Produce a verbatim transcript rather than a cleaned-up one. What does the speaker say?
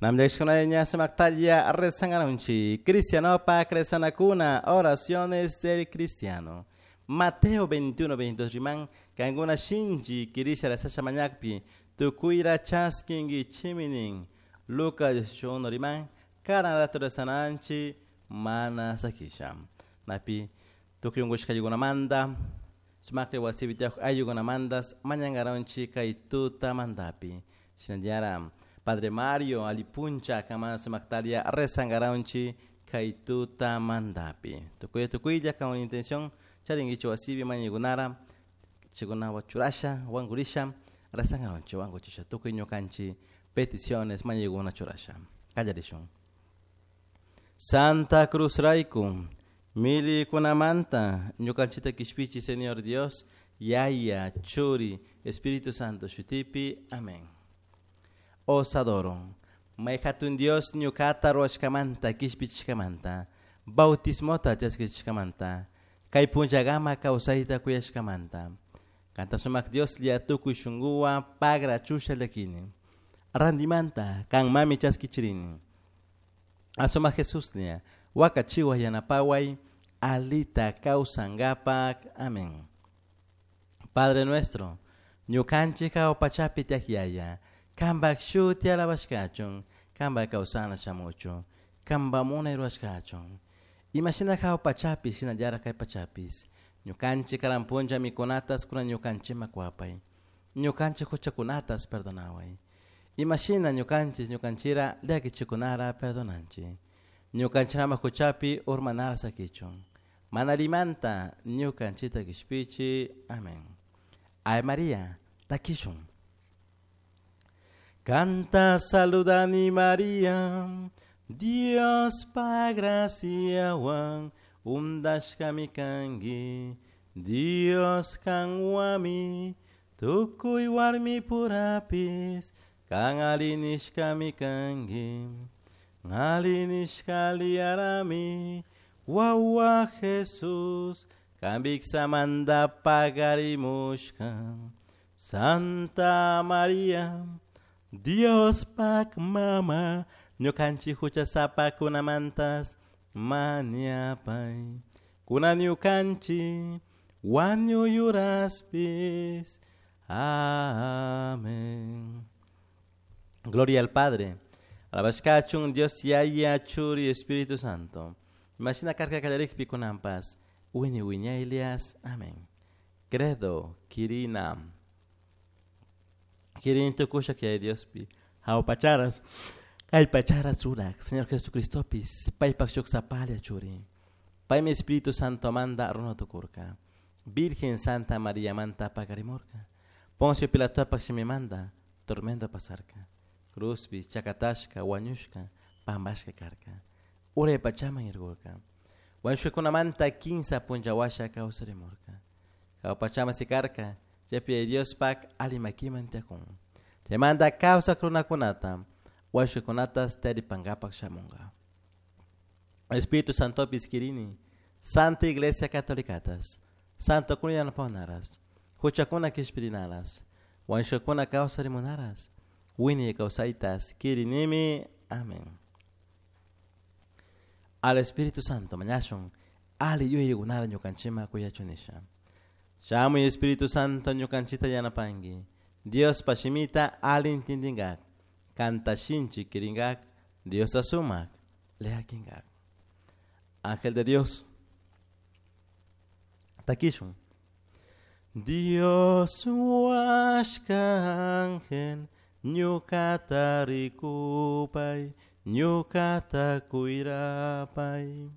Namdeshkuna sumaktalla rezangarunchi. Cristiano pa rezanakuna, oraciones del cristiano. Mateo veintiuno, veintidós riman, kankuna shinchi kirisha rezasha mañakpi, tukuyra chaskinkichiminin. Lucas dieciocho uno riman, karan rato rezananchi, mana sakisha. Napi, tukuy unkushkaykunamanta, sumakri wasipi tiyaj ayllukunamantas, mañankaronchi kay tutamantapi. Shinallara, Padre Mario, alipuncha, kamana sumaktaria, rezangaronchi kay tutamantapi. Tukuy tukuylla con intención, charingichu wasipi mañaykunara, chikunawa churasha, wankurisha, rezangaronchi, wankuchisha, tukuy ñukanchi, peticiones, mañaykuna churasha. Kallarishun. Santa Cruz rayku, milikunamanta, ñukanchita kishpichi, Señor Dios, Yaya, Churi, Espíritu Santo, shutipi, amén. Os adoro. May hatun Dios ñukata ruwashkamanta, kishpichishkamanta, bautismota chaskichishkamanta, kay punllagama kawsayta kuyashkamanta. Kanta sumak Dios lia tukuy shunkuwan pagra chusha llakini. Randimanta, kan mami chaskichirini. Asuma Jesús lia, wakachiwa yanapaway, alita kawsangapak. Amén. Padre nuestro, ñukanchik pachapi tiyak yaya, kanpak shuti alabashkachun, kanpak kawsana shamuchun, kanpak munay rurashkachun. Imashina hawa pachapi, shinallara kay pachapis. Ñukanchik karan punlla mikunatas kunan ñukanchikman kuwapay. Ñukanchik huchakunatas perdonaway. Imashina ñukanchik ñukanchira llakichikunara perdonanchik. Ñukanchikama huchapi urmanara sakichun. Mana limanta ñukanchita kishpichi. Amén. Ave María, takishun. Canta saludani María, Dios pa graciawan, undashkami kanki, Dios kanwami, tukuy warmi purapis, kan alinishkami kanki, alinishka liarami, wawa Jesús, kambiksamanta pagarimushka, Santa María, Dios pak mama, ñukanchik huchasapakunamantas mañapay. Kunan ñukanchik wañuyuraspis. Amén. Gloria al Padre. Alabashkachun Dios Yaya, Churi, Espíritu Santo. Imagina karka kallarikpi kunanpas. Wiñay wiñaylias. Amén. Credo, Kirina. Kirin tukusha que hay Diospi. Jaupacharas. Kallpacharas rurak. Señor Jesucristopis. Paypak shuk sapalia churi. Paymi Espíritu Santo manda runa tukurka. Virgen Santa María manta pakarimurka. Poncio Pilatopak shimimanda tormento pasarka. Cruzpi, chakatashka, wañushka, pambashka karka. Uray pachaman irgurka. Wañushkakunamanta kinsa punllawasha kawsarimurka. Kawpachama sikarka. Chaypi Dios pak alimakiman tiyakun. Chaymanta kawsak runakunata, wañushkakunatas taripankapak shamunka. Espíritu Santopis kirini, Santa Iglesia Catolicatas, Santo kuna yanapawanaras, huchakuna kishpirinaras, wañushkakuna kawsarimunaras, wiñay kawsaytas kirinimi. Amén. Al Espíritu Santo mañashun, ali yuyaykunara ñukanchikman kuyachunisha. Shamuy Espíritu Santo ñukanchita yanapanki. Dios pashimita ali intindinkak, kanta shinchi kirinkak, Dios asumak, leakinkak. Ángel de Dios, takishun. Dios huashka ángel, ñukata rikupay, ñukata kuyrapay.